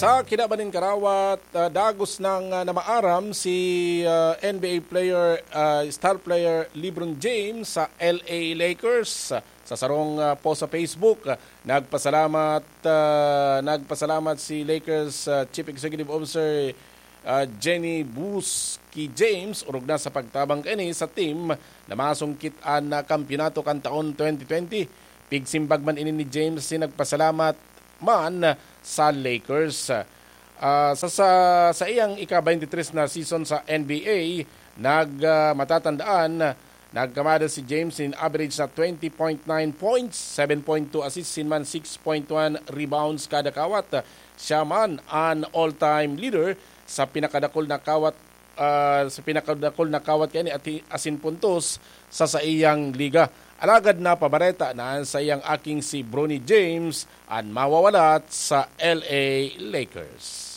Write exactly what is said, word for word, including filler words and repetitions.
Sa kinaban nin karawat, ah, dagos nang, ah, namaaram si, ah, N B A player, ah, star player LeBron James sa L A Lakers. Sa sarong, ah, post sa Facebook, ah, nagpasalamat, ah, nagpasalamat si Lakers, ah, Chief Executive Officer, ah, Jenny Buski James, orog na sa pagtabang kaini sa team na masungkit an, ah, kampiyonato kan taon twenty twenty. Pigsimbag man ini ni James, si nagpasalamat man sa Lakers. Ah, sa, sa, sa iyang ika-twenty-three na season sa N B A, nag, ah, matatandaan, nagkamada si James in average na twenty point nine points, seven point two assists, sin man six point one rebounds kada kawat. Siya man an all-time leader sa pinakadakul na kawat, ah, sa pinakadakul na kawat kaini ati-, asin puntos sa saiyang liga. Alagad napabareta na an saiyang aking si Bronny James an mawawalat sa L A Lakers.